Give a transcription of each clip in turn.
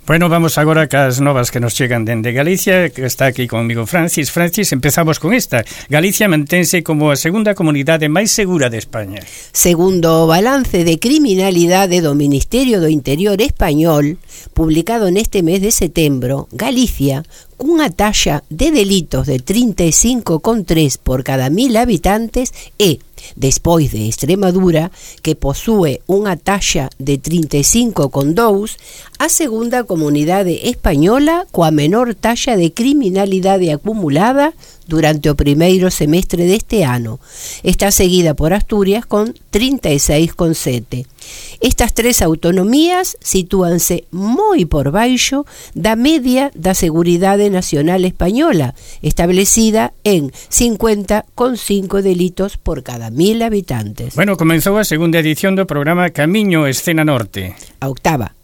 Bueno, vamos agora cas novas que nos chegan dende Galicia, que está aquí conmigo Francis. Francis, empezamos con esta. Galicia mantense como a segunda comunidade máis segura de España. Segundo o balance de criminalidade do Ministerio do Interior español, publicado neste mes de setembro, Galicia, cunha taxa de delitos de 35,3 por cada 1000 habitantes e, despois de Extremadura, que posúe unha taxa de 35,2, a segunda comunidade española coa menor taxa de criminalidade acumulada durante o primeiro semestre deste ano. Está seguida por Asturias con 36,7. Estas tres autonomías sitúanse moi por baixo da media da Seguridade Nacional Española, establecida en 50,5 delitos por cada 1000 habitantes. Bueno, comenzou a segunda edición do programa Camiño Escena Norte. Oitava.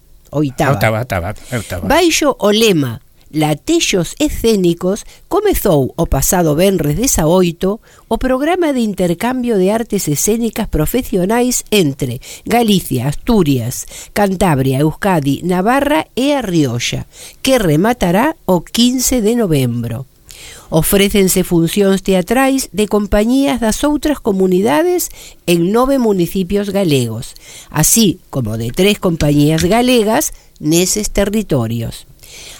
Baixo o lema Latexos escénicos, comezou o pasado venres 18 o programa de intercambio de artes escénicas profesionais entre Galicia, Asturias, Cantabria, Euskadi, Navarra e a Rioxa, que rematará o 15 de novembro. Ofrécense funcións teatrais de compañías das outras comunidades en 9 municipios galegos, así como de 3 compañías galegas neses territorios.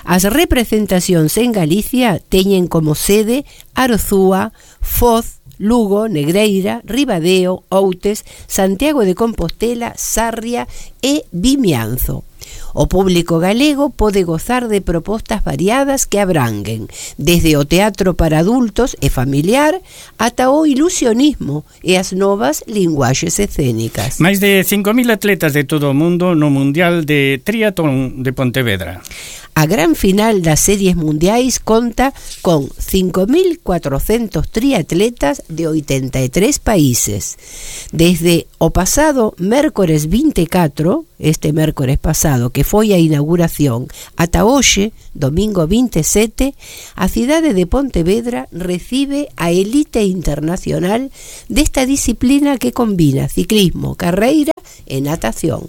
As representacións en Galicia teñen como sede Arzúa, Foz, Lugo, Negreira, Ribadeo, Outes, Santiago de Compostela, Sarria e Vimianzo. O público galego pode gozar de propostas variadas que abranguen desde o teatro para adultos e familiar ata o ilusionismo e as novas linguaxes escénicas. Máis de 5.000 atletas de todo o mundo no Mundial de Triatlón de Pontevedra. A gran final das series mundiais conta con 5.400 triatletas de 83 países. Desde o pasado mércores 24, este mércores pasado, que foi a inauguración, ata hoxe, domingo 27, a cidade de Pontevedra recibe a elite internacional desta disciplina que combina ciclismo, carreira e natación.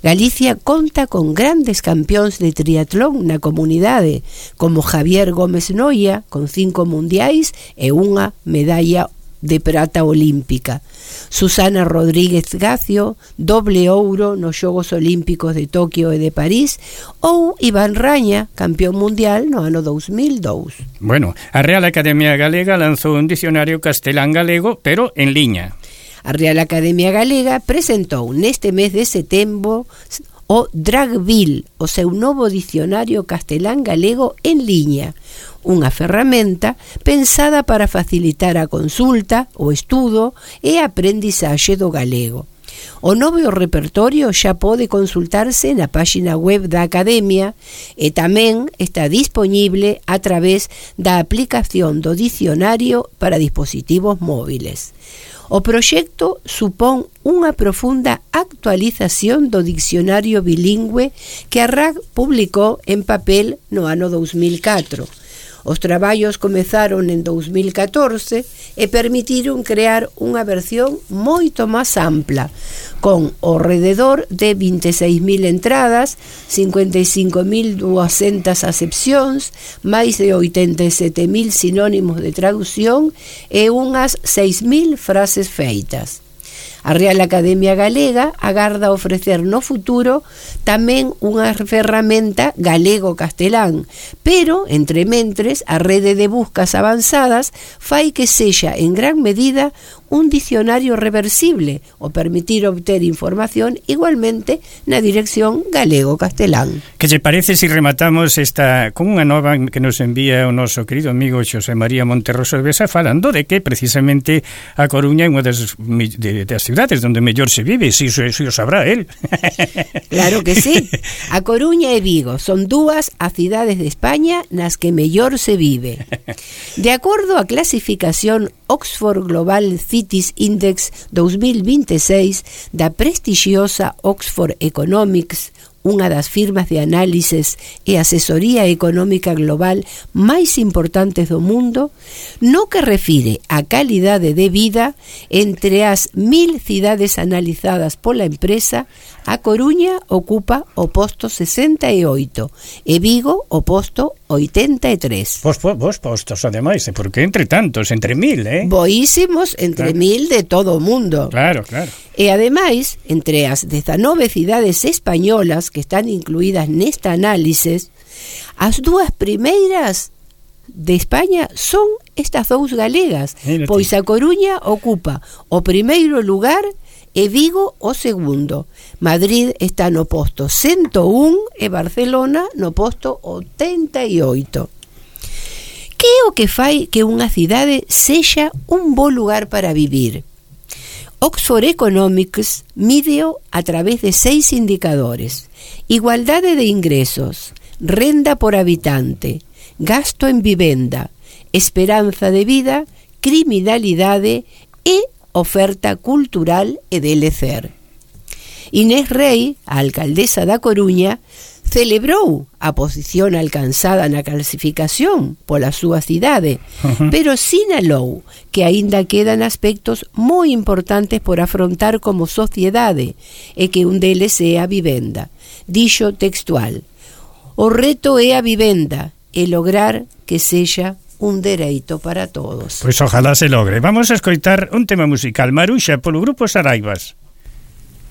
Galicia conta con grandes campións de triatlón na comunidade, como Javier Gómez Noia, con 5 mundiais e unha medalla de prata olímpica. Susana Rodríguez Gacio, doble ouro nos Xogos Olímpicos de Tokio e de París, ou Iván Raña, campeón mundial no ano 2002. Bueno, a Real Academia Galega lanzou un dicionario castelán-galego, pero en liña. A Real Academia Galega presentou neste mes de setembro o Dragville, o seu novo dicionario castelán-galego en liña, unha ferramenta pensada para facilitar a consulta, o estudo e a aprendizaxe do galego. O novo repertorio xa pode consultarse na páxina web da Academia e tamén está dispoñible a través da aplicación do dicionario para dispositivos móviles. O proxecto supón unha profunda actualización do dicionario bilingüe que a RAC publicou en papel no ano 2004. Os traballos comezaron en 2014 e permitiron crear unha versión moito máis ampla, con ao rededor de 26.000 entradas, 55.200 acepcións, máis de 87.000 sinónimos de traducción e unhas 6.000 frases feitas. A Real Academia Galega agarda ofrecer no futuro tamén unha ferramenta galego-castelán, pero, entre mentres, a rede de buscas avanzadas fai que sexa en gran medida un dicionario reversible o permitir obter información igualmente na dirección galego-castelán. Que lle parece se rematamos esta con unha nova que nos envía o noso querido amigo Xosé María Monterroso de Besa, falando de que precisamente a Coruña é unha das cidades onde mellor se vive, si o sabrá él. Claro que sí. A Coruña e Vigo son dúas as cidades de España nas que mellor se vive. De acordo á clasificación Oxford Global Cities Index 2026 da prestixiosa Oxford Economics unha das firmas de análises e asesoría económica global máis importantes do mundo, no que refire a calidade de vida entre as 1000 cidades analizadas pola empresa, a Coruña ocupa o posto 68 e Vigo o posto 83. Vos postos, ademais, porque entre tantos, entre 1000, Boísimos entre 1000 de todo o mundo. Claro, claro. E ademais, entre as 19 cidades españolas que están incluídas nesta análisis, as dúas primeiras de España son estas dous galegas, pois a Coruña ocupa o primeiro lugar e Vigo o segundo. Madrid está no posto 101 e Barcelona no posto 88. Que é o que fai que unha cidade sexa un bo lugar para vivir? Oxford Economics mídeo a través de 6 indicadores: igualdade de ingresos, renda por habitante, gasto en vivenda, esperanza de vida, criminalidade e oferta cultural e de lecer. Inés Rei, a alcaldesa da Coruña, celebrou a posición alcanzada na clasificación pola súa cidade, pero sinalou que aínda quedan aspectos moi importantes por afrontar como sociedade e que un deles é a vivenda. Dixo textual: o reto é a vivenda e lograr que sexa un dereito para todos. Pois ojalá se logre. Vamos a escoitar un tema musical, Maruxa, polo grupo Saraivas.